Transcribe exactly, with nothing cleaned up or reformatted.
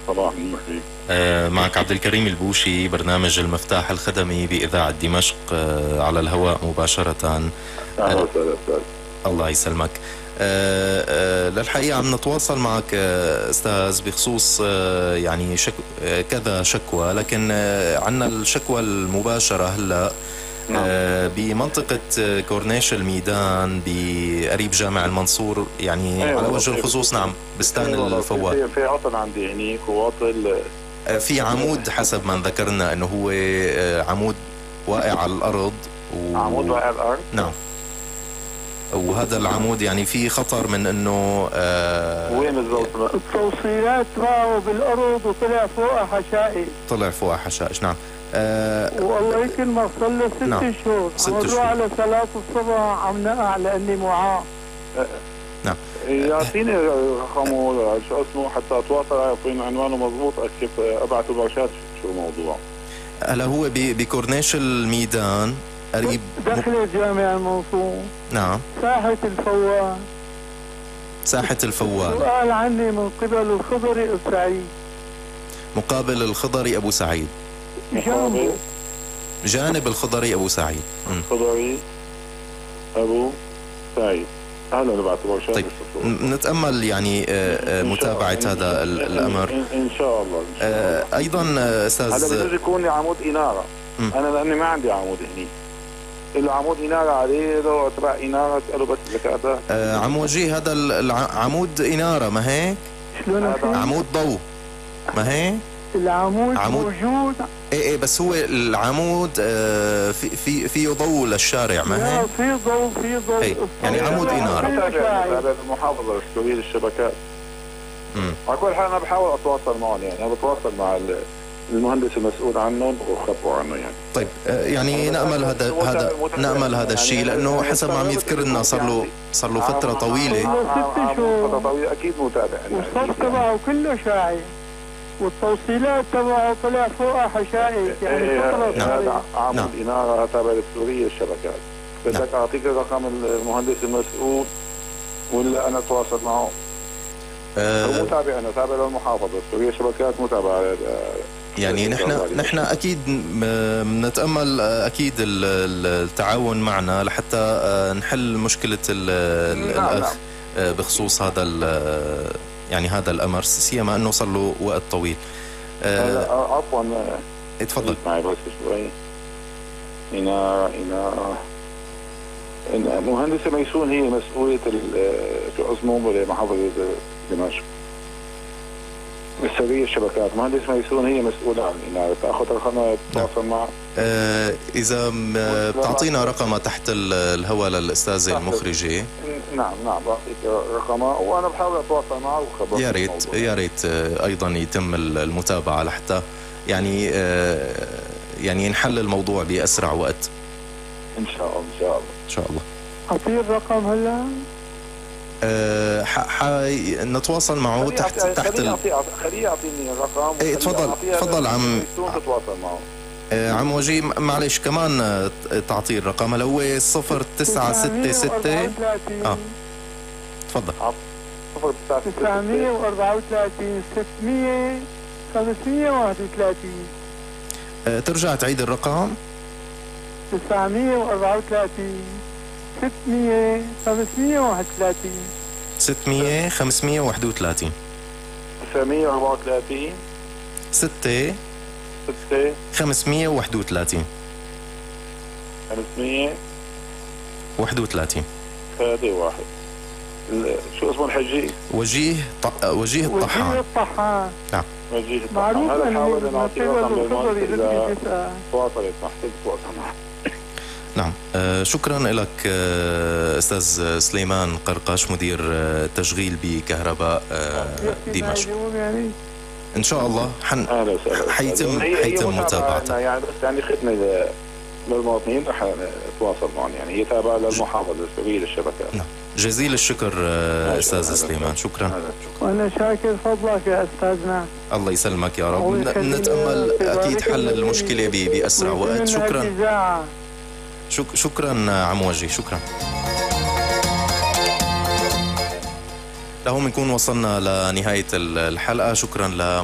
صباح النور فيك. آه معك عبد الكريم البوشي، برنامج المفتاح الخدمي بإذاعة دمشق آه على الهواء مباشرة. أهلا وسهلا أستاذ. الله يسلمك. آه آه للحقيقة عم نتواصل معك آه أستاذ بخصوص آه يعني شك آه كذا شكوى، لكن آه عنا الشكوى المباشرة هلأ آه بمنطقة آه كورنيش الميدان بقريب جامع المنصور، يعني أيوة على وجه الخصوص. نعم، بستان أيوة الفوات. في, في عطل عندي هنيك وعطل آه في عمود حسب ما ذكرنا انه هو آه عمود واقع على الارض و... عمود واقع على الارض. نعم، وهذا العمود يعني في خطر من انه آه وين بالضبط؟ التوصيلات معه بالارض وطلع فوقها حشائش. طلع فوقها حشائش. نعم. آه والله يمكن ما صار له ست نعم. شهور. ست عم شهور على صلاة الصبح عم نقع لاني معاه. آه نعم. يعطيني رقمه شو اسمه حتى اتواصل، يعطيني عنوانه مضبوط، كيف ابعث مباشرات شو الموضوع. هلا هو بكورنيش الميدان قريب دخل جامع المنصور. نعم. ساحة الفوال. ساحة الفوال. سؤال عني من قبل الخضري أبو سعيد. مقابل الخضري أبو سعيد. جانبه. جانب الخضري أبو سعيد. الخضري أبو سعيد. أهلا نبعث مباشرة. طيب نتأمل يعني متابعة هذا الأمر إن شاء الله. إن شاء الله. أيضا أستاذ هذا بده يكون لي عمود إنارة. م. أنا لأني ما عندي عمود هني. له عمود إنارة عليه، له تبع إنارة، اسأله بس زكاته. آه عم وجيه هذا العمود إنارة ما هيك؟ شلون عمود ضوء ما هيك؟ العمود عمود موجود. ايه ايه بس هو العمود آه في في فيه ضوء للشارع ما هيك؟ في ضوء في ضوء ايه يعني عمود إنارة. هذا المحافظة السورية للشبكات. امم على كل حال أنا بحاول أتواصل معهم، يعني أنا بتواصل مع المهندس المسؤول عنهم وخبروا عنه يعني. طيب يعني نأمل هذا هذا نأمل هذا الشيء، لأنه حسب ما عم يذكر لنا صار له صار له فترة طويلة. ست شهور. فترة طويلة أكيد متابع. والصف تبعه كله شاعي. والتوصيلات تبعه طلع فوقها حشائش يعني فترة هذا عمود إنارة تابع للسورية الشبكات. بدك أعطيك رقم المهندس المسؤول ولا أنا أتواصل معه؟ أه متابع، أنا تابع للمحافظة السورية شبكات، متابعة يعني نحن نحن اكيد بنتامل اكيد التعاون معنا لحتى نحل مشكله الاخ بخصوص هذا يعني هذا الامر، سيما انه صار له وقت طويل. عفوا اتفضل معي بس شوي. هنا هنا مهندسة ميسون هي مسؤولية شو اسمه محافظة دمشق السورية الشبكات. مهندس ميسون هي مسؤولة عن الإنارة. تأخذ رقمها تتواصل معه. آه إذا بتعطينا رقمها تحت الهواء للأستاذة المخرجة. نعم نعم بعطيك رقمها وأنا بحاول أتواصل معه وخبرك. يا ريت يا ريت أيضا يتم المتابعة لحتى يعني آه يعني نحل الموضوع بأسرع وقت. إن شاء الله إن شاء الله إن شاء الله. أعطيه الرقم هلا؟ أه ح... نتواصل معه تحت تحت ال... خليه يعطيني الرقم. ايه تفضل تفضل عم تتواصل معه. أه عم وجيه معلش كمان تعطيه الرقم اللي هو صفر تسعة ستة ستة. اه تفضل. صفر تسعمية وأربعة وثلاثين ستمية خمسمية وواحد وثلاثين. أه ترجع تعيد الرقم. تسعمية وأربعة وثلاثين ستمية خمسمية وواحد وثلاثين. ستمية خمسمية وواحد وثلاثين. تسعمية وأربعة وثلاثين ستة ستة خمسمية وواحد وثلاثين. خمسمية وواحد وثلاثين. ثلاثة واحد. شو اسمه الحجي؟ وجيه ط... وجيه الطحان. وجيه الطحان. نعم. وجيه الطحان. هذا حاول أن أعطيه رقم للمهندس إذا تواصلت معه تواصل معه. نعم. آه شكرا لك آه أستاذ سليمان قرقاش مدير آه تشغيل بكهرباء آه دمشق. إن شاء الله حن حيتم حيتم متابعتها. يعني بس يعني خدمة للمواطنين رح نتواصل معهم، يعني هي تابعة للمحافظة السورية للشبكات. نعم. جزيل الشكر آه أستاذ سليمان. شكرا. وأنا شاكر فضلك يا أستاذنا. الله يسلمك يا رب. نتأمل أكيد حل المشكلة بأسرع وقت. شكرا. شك شكرا عم وجيه. شكرا. لهم نكون وصلنا لنهاية الحلقة. شكرا ل